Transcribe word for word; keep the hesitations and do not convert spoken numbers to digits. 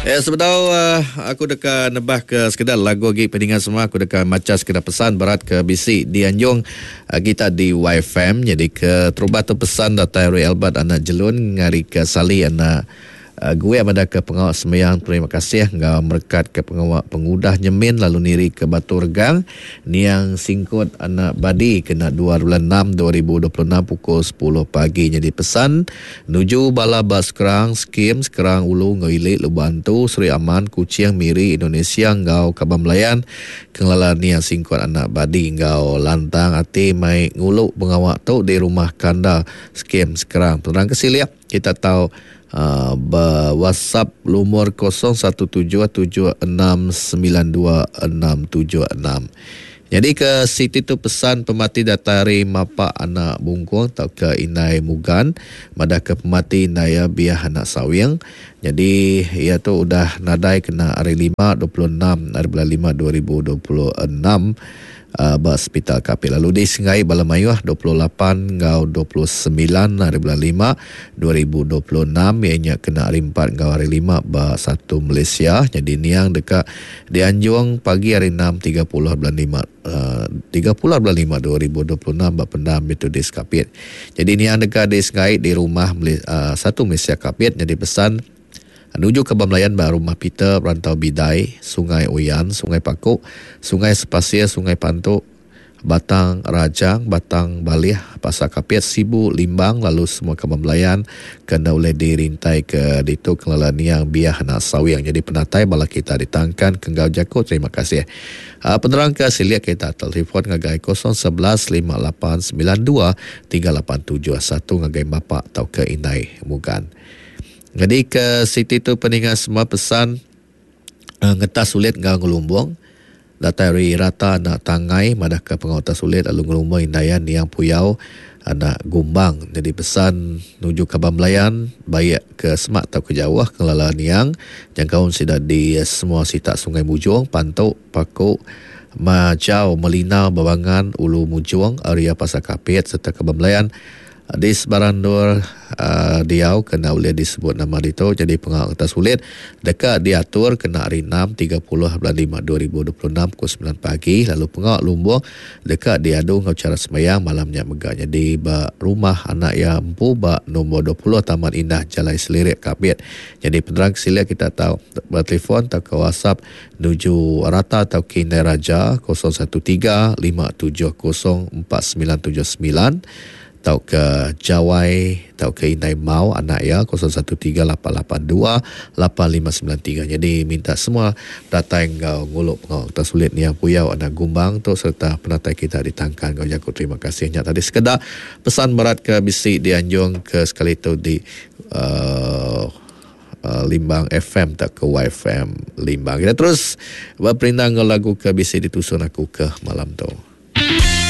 Eh sebedau uh, aku deka nebah ke sekedar lagu lagi peningan semua, aku deka maca sekedar pesan berat ke bisi di Anjung uh, kita di Y F M. Jadi ke terubah tu pesan datai Ray Albert anak Jelun ngari ke Sali anak uh, gue ada ke pengawak sembahyang terima kasih ngau merekat ke pengawak pengudah nyemin lalu niri ke Batu Regang niang singkut anak badi kena dua bulan enam dua ribu dua puluh enam pukul sepuluh pagi. Jadi pesan nuju bala bas Skrang Skim Skrang Ulu ngau Ilik Lubantu Seri Aman Kuching Miri Indonesia ngau Kaban Belayan kengelala niang singkut anak badi ngau lantang ati mai ngulu pengawak tu di rumah Kanda Skim Skrang. Penerang kesiliap kita tahu Uh, WhatsApp lumur kosong satu tujuh tujuh enam sembilan dua enam tujuh enam. Jadi ke Siti tu pesan pemati datari mapa anak bungkung atau ke Inai Mugan madah ke pemati Inai biah anak sawing. Jadi ia tu udah nadai kena hari lima dua puluh enam hari bulan lima dua ribu dua puluh enam uh, ba hospital Kapit. Lalu di Sengai Bala Mayuh dua puluh lapan ngau dua puluh sembilan hari bulan lima dua ribu dua puluh enam ianya kena hari empat ngau hari lima ba satu Malaysia. Jadi niang dekat dianjung pagi hari enam tiga puluh bulan lima, uh, tiga puluh bulan lima dua ribu dua puluh enam ba pendam itu di Kapit. Jadi niang dekat di Sengai di rumah uh, satu Malaysia Kapit. Jadi pesan menuju ke Bamlayan ba rumah Peter Rantau Bidai, Sungai Oyan, Sungai Pakuk, Sungai Sepasir, Sungai Pantuk, Batang Rajang, Batang Balih, Pasar Kapit, Sibu, Limbang, lalu semua ke Bamlayan kena oleh dirintai ke ditu kelala niang biah anak sawiang. Jadi penatai bala kita ditangkan kenggau jako. Terima kasih. Uh, penerang ke siliak kita telefon ngagai kosong sebelas lima lapan sembilan dua tiga lapan tujuh satu ngagai bapak atau ke Inai Mugan. Jadi ke Siti tu peningan semua pesan uh, ngetas sulit ngau ngelumbung datai ri rata anak tangai madah ke pengawata sulit lalu ngelumbung indayan niang puyau anak gumbang. Jadi pesan nuju ke Bamlayan baik ke semak atau ke jauh kelala niang jangkaun sida di semua sitak Sungai Mujung, Pantuk, Pakuk, Majau, Melinau, Babangan, Ulu Mujung, area Pasar Kapit serta ke Bamlayan di sebarang nur uh, diau kena boleh disebut nama itu. Jadi pengawal kertas sulit dekat diatur kena hari enam tiga puluh bulan lima dua ribu dua puluh enam pukul sembilan pagi. Lalu pengawal lumbung dekat diadu ngau cara sembahyang malamnya megak. Jadi ba rumah anak ya empu ba nombor dua puluh Taman Indah Jalan Selirik Kapit. Jadi penerang sila kita tahu bertelefon atau ke WhatsApp nuju rata atau ke Indai Raja kosong satu tiga lima tujuh kosong empat sembilan tujuh sembilan atau ke Jawai atau ke Inai Mau anak ya kosong satu tiga lapan lapan dua lapan lima sembilan tiga. Jadi minta semua datang ngau nguluk pengau kita sulit ni yang puyau anak gumbang tu serta penatai kita ditangkan ngau jago. Terima kasihnya tadi sekedar pesan berat ke bisi dianjung ke sekali tu di uh, uh, Limbang F M tak ke Y F M Limbang. Kita terus berperindang lagu ke bisi ditusun aku ke malam tu.